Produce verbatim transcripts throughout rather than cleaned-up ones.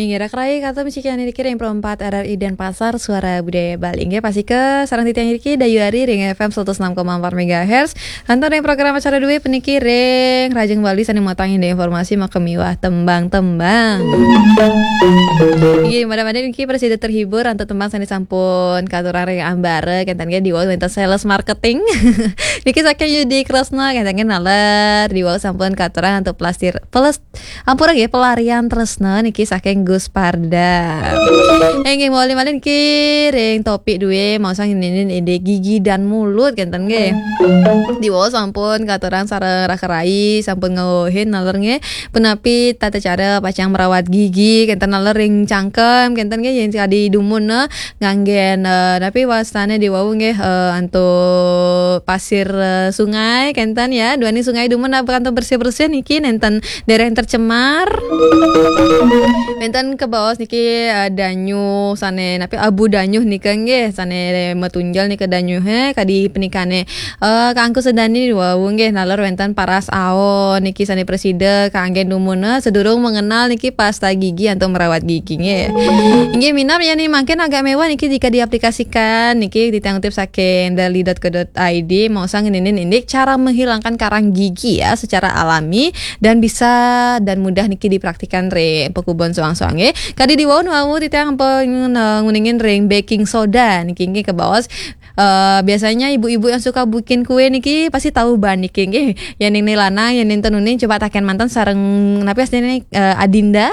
Inggih, raka rai, katutup niki ring Pro empat R R I Denpasar, Suara Budaya Bali. Inggih, pastika sareng titiang niki dayu ari ring F M seratus enam koma empat megahertz. Antuk ring program acara dué puniki ring Rajeng Bali sané mautang indik informasi makamiwah tembang-tembang. Inggih, mudah-mudahan niki prasida terhibur antuk tembang sané sampun katurang ring ambara, kénten nggih, diwau wénten sales marketing. Niki saking Yudi Kresna, kénten nggih, naler diwau sampun katurang antuk pelastir-, peles-, ampura nggih, Pelarian Tresna niki saking Gus Parda. Inggih, malih-malih niki ring topik dué, maosang indik gigi dan mulut, kénten nggih. Diwau sampun katurang sareng raka rai, sampun ngwehin naler nggih, punapi tata cara pacang merawat gigi, kénten naler ring cangkem, kénten nggih, yén kadi dumun, eh, nganggén, eh, napi wastané diwau nggih, eh, antuk pasir, eh, sungai, kénten ya, duaning sungai dumun, eh, antuk bersih-bersih niki nénten dereng tercemar. Wénten kabaos niki, eh, danyuh sané, napi, abu danyuh nika nggih, sané matunjel nika danyuhé, kadi punikané, eh, kaangkus dané wau nggih, naler wénten paras aon niki sané prasida kanggén dumun, eh, sadurung mengenal niki pasta gigi antuk merawat gigi nggih. Inggih minab, yén mangkin agak méwah niki jika diaplikasikan niki, titiang kutip saking dali dot co dot I D, maosang ngeninin indik cara menghilangkan karang gigi ya secara alami dan bisa dan mudah niki dipraktikan ring pakubon soang-soang nggih. Kadi diwau wau titiang ampun, eh, nguningin ring baking soda niki nggih kabaos. Eh, biasanya ibu-ibu yang suka bikin kue niki pasti tahu bahan niki nggih. Yén ning lanang, yén nénten uning, coba taken manten sareng napi astiné, eh, Adinda.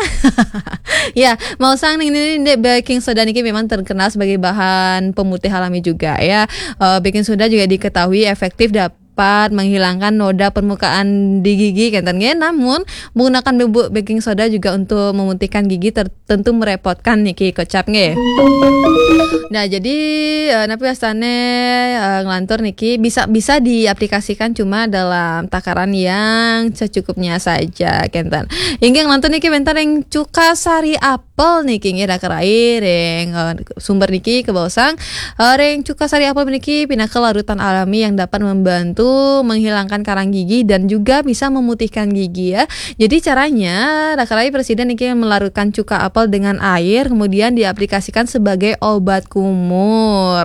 Ya, maosang ning niki, baking soda niki memang terkenal sebagai bahan pemutih alami juga ya. Eh, baking soda juga diketahui efektif dapat menghilangkan noda permukaan di gigi, kénten nggih. Namun, menggunakan bubuk baking soda juga untuk memutihkan gigi ter-, tentu merepotkan niki kocap nggih. Nah, jadi, eh, napi wastané, eh, nglantur niki bisa, bisa diaplikasikan cuma dalam takaran yang secukupnya saja, kénten. Inggih nglantur niki wénten ring cuka sari apel niki nggih, raka rai, ring, eh, sumber niki kabaosang, eh, ring cuka sari apel niki pinaka larutan alami yang dapat membantu menghilangkan karang gigi dan juga bisa memutihkan gigi ya. Jadi caranya, raka rai, prasida niki melarutkan cuka apel dengan air, kemudian diaplikasikan sebagai obat kumur.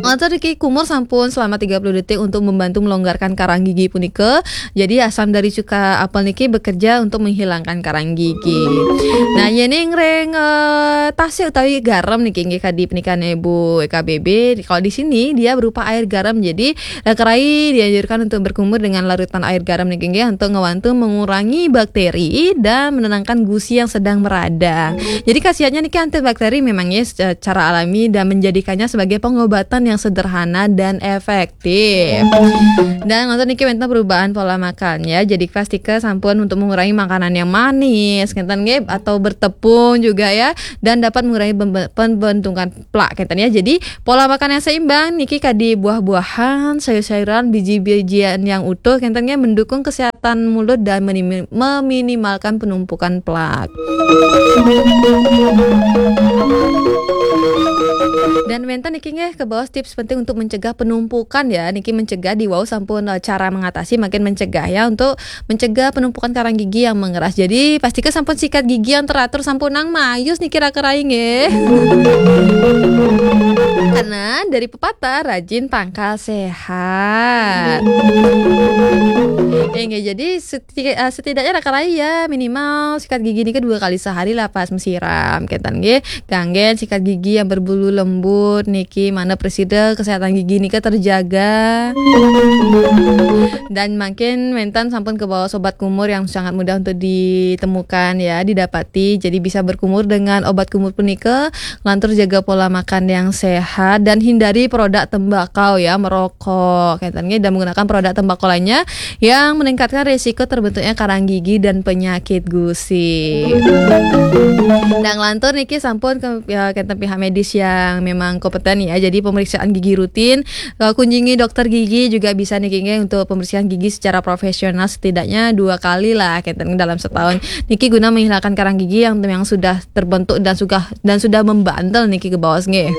Nglantur niki kumur sampun selama tiga puluh detik untuk membantu melonggarkan karang gigi punika. Jadi asam dari cuka apel niki bekerja untuk menghilangkan karang gigi. Nah, yén ring, eh, tasih utawi garam niki nggih, kadi punikané Bu K B B. Kalau di sini dia berupa air garam. Jadi raka rai dianjurkan untuk berkumur dengan larutan air garam niki nggih untuk ngewantu mengurangi bakteri dan menenangkan gusi yang sedang meradang. Jadi khasiatnya niki antibakteri memangnya secara alami dan menjadikannya sebagai pengobatan yang sederhana dan efektif. Dan nglantur niki wénten perubahan pola makan ya. Jadi pastika sampun untuk mengurangi makanan yang manis, ngénten nggih, atau bertepung juga ya, dan dapat mengurangi pembe-, pembentukan plak, ngénten ya. Jadi pola makan yang seimbang niki kadi buah-buahan, sayur-sayuran, biji-bijian yang utuh, kénten nggih, mendukung kesehatan mulut dan menimi-, meminimalkan penumpukan plak. Dan wénten niki nggih kabaos tips penting untuk mencegah penumpukan ya. Niki mencegah diwau sampun, eh, cara mengatasi, makin mencegah ya, untuk mencegah penumpukan karang gigi yang mengeras. Jadi, pastika sampun sikat gigi yang teratur, sampunang mayus niki raka rai nggih. Karena dari pepatah, rajin pangkal sehat. Inggih, jadi seti-, eh, setidaknya raka rai ya, minimal sikat gigi niki dua kali sehari lah pas mesiram, kénten nggih. Kanggén sikat gigi yang berbulu lembut niki, manah prasida kesehatan gigi nika terjaga. Dan mangkin wénten sampun kabaos obat kumur yang sangat mudah untuk ditemukan ya, didapati. Jadi bisa berkumur dengan obat kumur punika, nglantur jaga pola makan yang sehat dan hindari produk tembakau ya, merokok. Kénten nggih, dan menggunakan produk tembakau lainnya yang meningkatkan risiko terbentuknya karang gigi dan penyakit gusi. Dan nglantur niki sampun ke, ya, kénten pihak medis yang memang kompeten ya. Jadi pemeriksaan gigi rutin, eh, kunjungi dokter gigi juga bisa niki nggih untuk pembersihan gigi secara profesional setidaknya dua kali lah, kénten, dalam setahun. Niki guna menghilangkan karang gigi yang, yang sudah terbentuk dan sudah, dan sudah membandel niki kabaos nggih.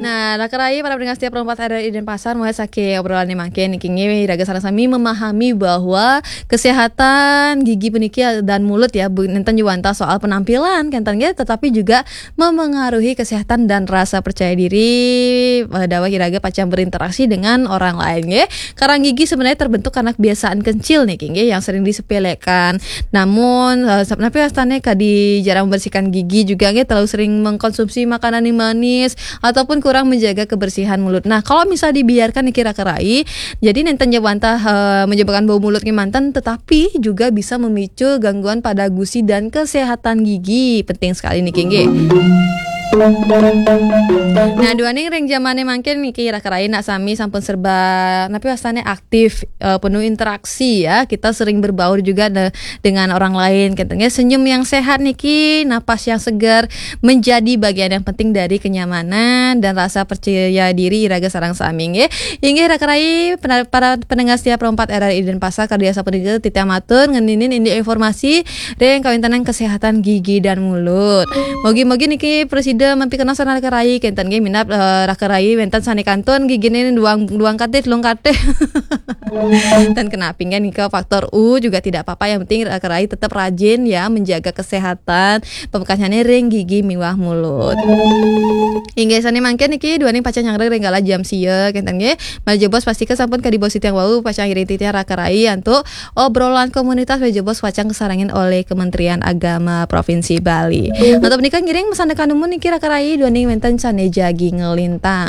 Nah, Nah, raka rai para pendengar setia Pro empat R R I Denpasar, mulai saking obrolan mangkin niki nggih, iraga sareng sami memahami bahwa kesehatan gigi puniki dan mulut ya, bu-, nénten ja wantah soal penampilan kénten nggih, tetapi juga memengaruhi kesehatan dan rasa percaya diri, eh, dawuh iraga pacang berinteraksi dengan orang lain nggih. Karang gigi sebenarnya terbentuk karena kebiasaan kecil niki nggih, yang sering disepelekan. Namun, eh, sap-, napi wastané kadi jarang membersihkan gigi juga nggih, terlalu sering mengkonsumsi makanan yang manis, ataupun kurang menjaga kebersihan mulut. Nah, kalau misal dibiarkan niki raka rai, jadi nénten ja wantah, eh, menyebabkan bau mulut nggih manten, tetapi juga bisa memicu gangguan pada gusi dan kesehatan gigi. Penting sekali niki nggih. Nah, duaning ring jamané mangkin niki raka rai nak sami sampun serba, napi wastané, aktif, eh, penuh interaksi ya. Kita sering berbaur juga de-, dengan orang lain, gitu nggih. Senyum yang sehat niki, napas yang segar menjadi bagian yang penting dari kenyamanan dan rasa percaya diri iraga sareng sami nggih. Inggih raka rai, pena-, para pendengar setia Pro empat R R I Denpasar, kadi asapunika titiang matur ngeninin indik informasi ring kawéntenan kesehatan gigi dan mulut. Mugi-mugi niki prasida mapikenoh sareng raka rai kénten nggih, minab, eh, raka rai wénten sané kantun giginé duang, duang katih, telung katih. Dan kenapi nggih nika faktor U juga tidak apa-apa, yang penting raka rai tetap rajin ya menjaga kesehatan, pamekasnyané ring gigi miwah mulut. Inggih sané mangkin niki duaning pacang nyanggra ring galah jam sia kénten nggih. Malih jebos pastika sampun kadi bos titiang wau pacang ngiring titiang raka rai antuk obrolan komunitas, malih jebos pacang kasarengin olih Kementerian Agama Provinsi Bali. Antuk punika ngiring masandekan dumun niki raka rai duaning wénten sané jagi nglintang.